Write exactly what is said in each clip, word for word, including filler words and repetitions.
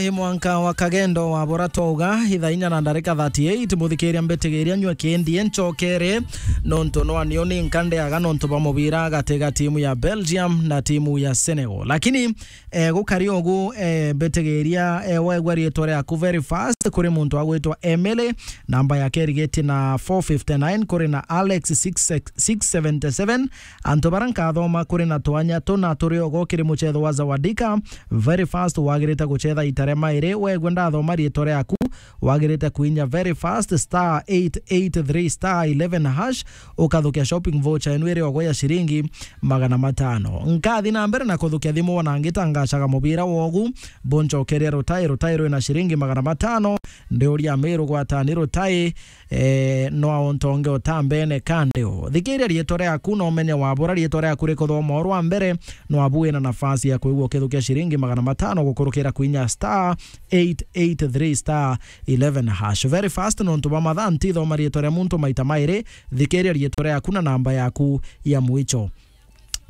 Ni mwanka wa kagendo wa bora twauga, ithaa inya na ndarika thirty-eight, muthikiria mbitigiria nyua kindi ncokere, nontu nwa nio ni nkandeaga nontu bwa mubira gati ga timu ya Belgium na timu ya Senegal. Lakini, eh, gukari ugu, eh, mbitigiria, eh, waigua riitwa riaku very fast kuri muntu agwitwa Emily, namba yake irigitie na four fifty-nine, kuri na Alex six six, six seventy-seven, Antu bara nkathoma kuri na twanya tuna turi ogo kiri mucetho wa Zawadika. Very fast wagirite gucetha ita ria mairi. Wegwe ndathoma riitwa riaku, wagirite kuinya very fast star eight eight three star eleven hash, ukathukia shopping voucher enu iri ogo ya ciringi magana matano. Nkathi na mbere na kuthukia thimu wona ngitangacaga mubira wogu, buncokeria rutai, rutai rwina ciringi magana matano, ndiuria Miru gwatani rutai, eh, no aontonge utambene kandi u. Thikiria riitwa riaku na umenye wabura riitwa riaku rikuthoma o rwa mbere, no abu wina nafasi ya kwigua ukithukia ciringi magana matano gukurukira kuinya star eight eight three star eleven hash. Very fast, nontu bwa mathaa ntithoma riitwa ria muntu maita mairi, thikiria riitwa riaku na namba yaku ya mwicho.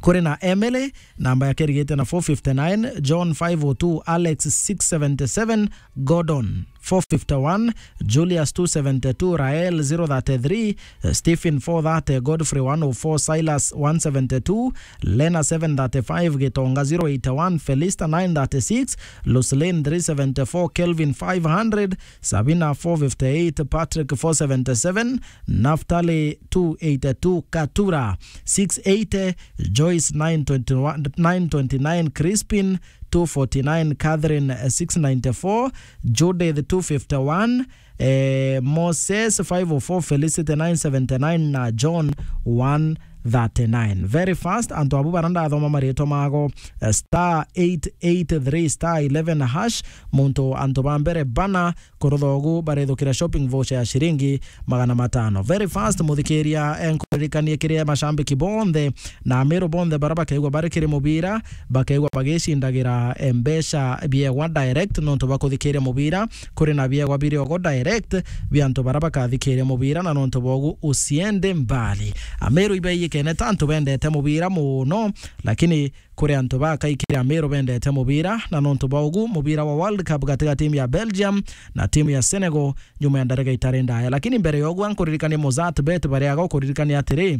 Kuri na Emily, namba yake irigite na four fifty-nine, John five oh two, Alex six seventy-seven, Gordon four fifty-one, Julius two seventy-two, Rael zero thirty-three, eh, Stephen four thirty, Godfrey one oh four, Silas one seventy-two, Lena seven thirty-five, Gitonga zero eighty-one, Felista nine thirty-six, Lucelyn three seventy-four, Kelvin five hundred, Sabina four fifty-eight, Patrick four seventy-seven, Naftali two eighty-two, Katura six eighty, Joyce nine twenty-one, nine twenty-nine, Crispin two forty-nine, Catherine, eh, six ninety-four, Judith two fifty-one, eh, Moses five oh four, Felicity nine seventy-nine na John one thirty-nine. Very fast, antu abu bara ndathoma maritwa mago, eh, star eight eight three star eleven hash, muntu antu ba mbere bana kurutha ugu barithukira shopping voucher ya ciringi magana matano. Very fast, muthikiria, eh, nkuririkanie kiri mashambiki bonthe na Amiru bonthe bara bakaigua bari kiri mubira, bakaigua bagicindagira, eh, mbeca biegwa direct nontu bwa kuthikiria mubira. Kuri na biegwa biri ogo direct bia antu bara bakathikiria mubira, na nontu bwa ugu usiende mbali. Amiru ibaiyikene ta antu bendete mubira muno, lakini kuri antu bakaikire Amiru bendete mubira, na nontu bwa ugu mubira wa World Cup gati ga timu ya Belgium na timu ya Senegal nyuma ya ndarika itari ndaya. Lakini mbere ya uguo, nkuririkania Mozart Bet baria ago kuririkania atiri,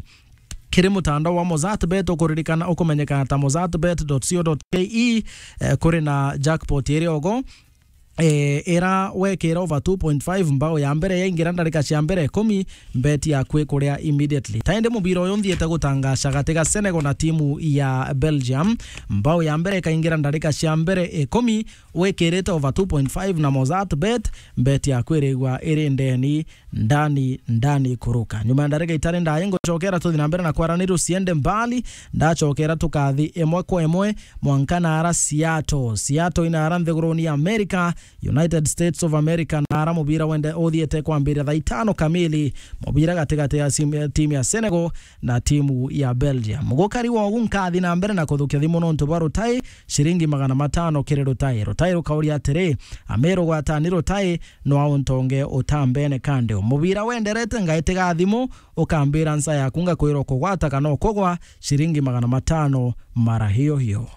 kiri mutandao wa Mozart Bet ukuririkana, ukumenyekana ta mozart bet dot co dot ke, eh, kuri na jackpot iri ogo, eh, ira wekira over two point five, mbao ya mbere yaingira ndarika cia mbere ikumi, bet yaku ikuria immediately. Ta indi mubira uyu nthiite gutangaca gati ga Senegal na timu ya Belgium, mbao ya mbere ikaingira ndarika cia mbere ikumi, wikirite over two point five na Mozart Bet, bet yaku irigwa iri ndeni, ndani, ndani kuruka. Nyuma ya ndarika itari ndaya, ngucokera tuthi na mbere na kwaraniria usiende mbali, ndacokera tukathi imwe kwa imwe, mwanka naara Seattle. Seattle inaara nthiguruni ya America, United States of America, naara mubira wende uthiete kwambiria thaa itano kamili, mubira gatigati ya sim-, timu ya Senegal na timu ya Belgium. Gukari wogu nkathi na mbere na kuthukia thimu nontu bwa rutai, ciringi magana matano kiri rutai. Rutai rukauria atiri, Amiru gwatani rutai, no auntonge utambene kandi u. Mubira wenderete, ngaitiga thimu, ukambira nsa yaku, ngakwira ukugwata kana ukugwa, ciringi magana matano mara hiyo hiyo.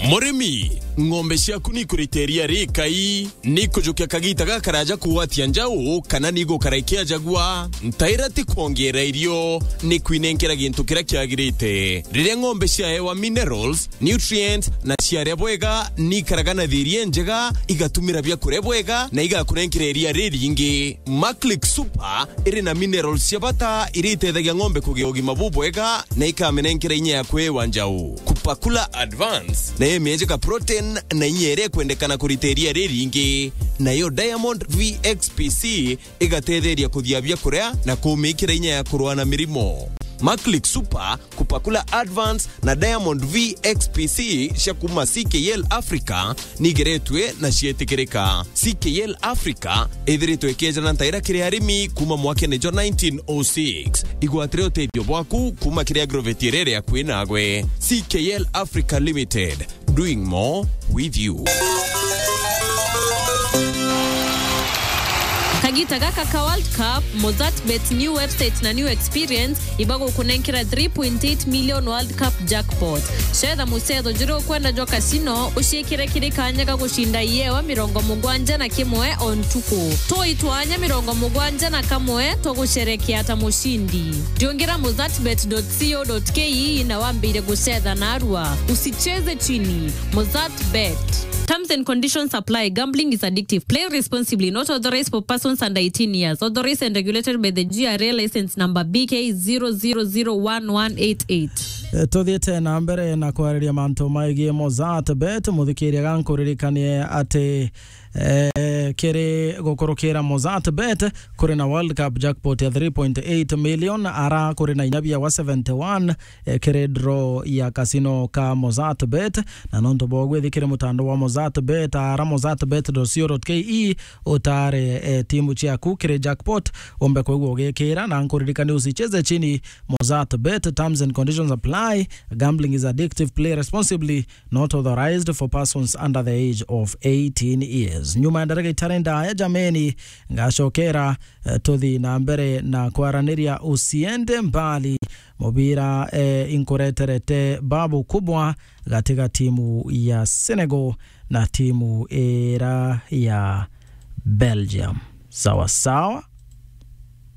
Murimi, ng'ombe ciaku ni ikurite iria rikai? Ni ikujukia kagita gakaraja kugwatia njau, kana ni igukara ikiajagua? Ntaira ti kwongeera irio, ni kwinenkera gintu kiria kiagirite. Riria ng'ombe ciaewa minerals, nutrients, na ciaria bwega, ni ikaraga na thiri injega, igatumira biakuria bwega, na igakunenkera iria riringi. Maclick Super iri na minerals cia bata iria itethagia ng'ombe kugia ugima bubwega na ikamenenkera inya ya kwiwa njau. Kupakula Advance nayo imienjeka protein na inya iria ikwendekana kurita iria riringi. Nayo Diamond V X P C igatetheria kuthia biakuria na kumikira inya ya kurua na mirimo. Maclick Super, Kupakula Advance na Diamond V X P C cia kuma C K L Africa nigeretue na cietikirika. C K L Africa ithiritwe ikiejana ntaira kiri arimi kuma mwakene jwa nineteen oh six. Igwatire utethio bwaku kuma kiri agrovet iria iri akui nagwe. C K L Africa Limited, doing more with you. Kagita gaka ka World Cup, Mozartbet new website na new experience ibagukunenkera three point eight million World Cup jackpot. Cetha mucetho juria ukwenda jwa casino, uciikire kiri kanya ga gucinda iewa mirongo mugwanja na kimwe o ntuku. Tui twanya mirongo mugwanja na kamwe twa gucerekea ta mucindi. Riungira mozartbet dot co dot ke na wambire gucetha narua. Usicheze chini. Mozartbet. Terms and conditions apply. Gambling is addictive. Play responsibly. Not authorized for persons under eighteen years. Authorized and regulated by the G R A license number B K zero zero zero one one eight eight. Eh, tuthiite na mbere na kwariria mantu maigie Mozartbet, muthikiria, gankuririkanie ati, eh, kiri gukurukira Mozartbet, kuri na World Cup jackpot ya three point eight million, ara kuri na inya biawa seventy one, eh, kiri draw ya casino ka Mozartbet. Na nontu bwa gwithikire mutandao wa Mozartbet, ara mozartbet dot co dot ke, utare, eh, timu ciaku kiri jackpot, umbe kwigua ugikira, na nkuririkanie usicheze chini. Mozartbet, terms and conditions apply. Gambling is addictive. Play responsibly. Not authorized for persons under the age of eighteen years. Nyuma ya ndarika itari ndaya, jameni, ngacokera, eh, tuthi na mbere na kwaraniria. Usiende mbali. Mubira, eh, inkureterete babu kubwa gati ga timu ya Senegal na timu ira ya Belgium. Sawa sawa.